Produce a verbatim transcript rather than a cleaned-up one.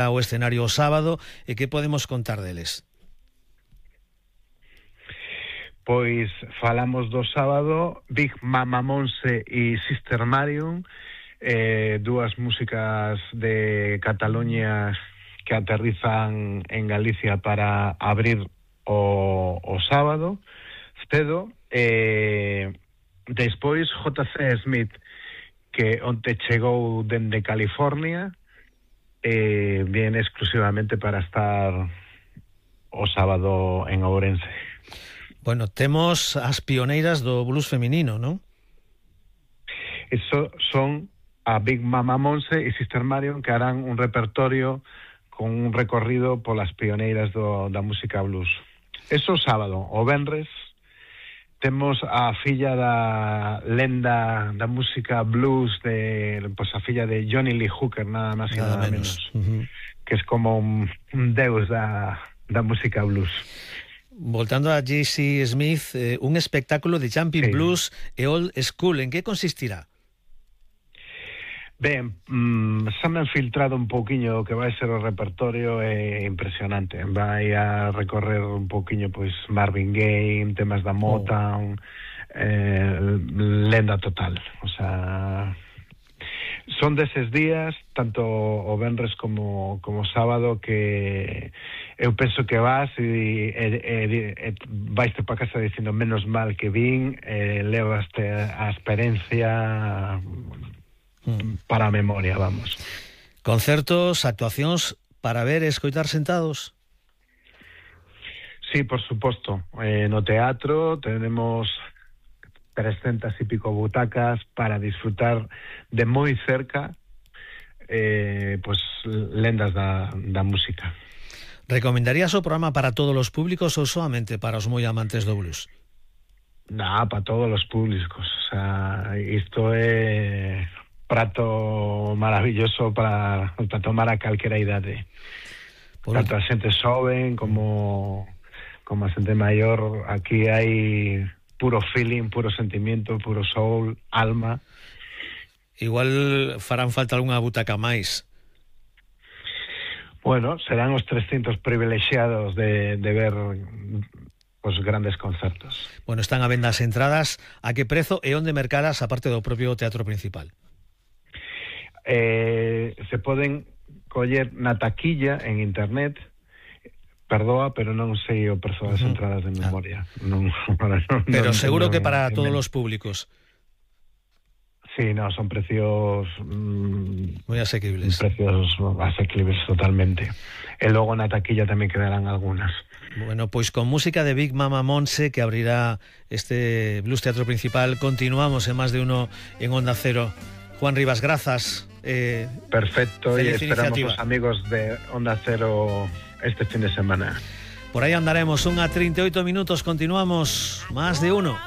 o escenario o sábado e que podemos contar deles? Pois falamos do sábado, Big Mama Monse e Sister Marion, eh, dúas músicas de Cataluña que aterrizan en Galicia para abrir o, o sábado cedo. Eh, despois J C Smith, que onte chegou dende California, eh, viene exclusivamente para estar o sábado en Ourense. Bueno, temos as pioneiras do blues feminino, non? Eso son a Big Mama Monse e Sister Marion, que harán un repertorio con un recorrido polas pioneiras do, da música blues. Eso sábado. O venres temos a filla da lenda da música blues, de pues a filla de Johnny Lee Hooker, nada máis e nada, nada menos, menos. Uh-huh. Que es como un, un deus da, da música blues. Voltando a J C Smith, eh, un espectáculo de jumping sí. blues e old school, en que consistirá? Ben, mmm, se me han filtrado un pouquiño o que vai ser o repertorio, é impresionante. Vai a recorrer un pouquiño pois Marvin Gaye, temas da Motown, oh. eh, lenda total. O sea, son deses días, tanto o venres como como sábado, que eu penso que vas e, e, e, e vaiste para casa dicindo menos mal que vin, e levaste a experiencia para a memoria, vamos. Concertos, actuacións para ver e escoitar sentados? Sí, por suposto. Eh, no teatro tenemos trescentas y pico butacas para disfrutar de moi cerca eh, pues lendas da, da música. Recomendarías o programa para todos os públicos ou solamente para os moi amantes do blues? Nah, para todos os públicos. O sea, isto é prato maravilloso para, para tomar a calquera idade. Por tanto a xente xoven como como a xente maior. Aquí hai puro feeling, puro sentimiento, puro soul, alma. Igual farán falta algunha butaca máis. Bueno, serán os trescentos privilexiados de, de ver os grandes concertos. Bueno, están a venda as entradas. A que prezo e onde mercadas, aparte do propio teatro principal? Eh, se poden coller na taquilla en internet. Perdoa, pero non sei o prezo das uh-huh. entradas de memoria. Ah. Non, non, pero non, seguro non, que para non, todos non. os públicos. Sí, no, son precios mmm, moi asequibles. Precios asequibles totalmente. E logo na taquilla tamén quedarán algunhas. Bueno, pois con música de Big Mama Monse, que abrirá este Blues Teatro Principal, continuamos en Más de Uno en Onda Cero. Juan Rivas, grazas. Eh, Perfecto, y esperamos iniciativa. Os amigos de Onda Cero este fin de semana. Por aí andaremos, unha trinta e oito minutos, continuamos Más de Uno.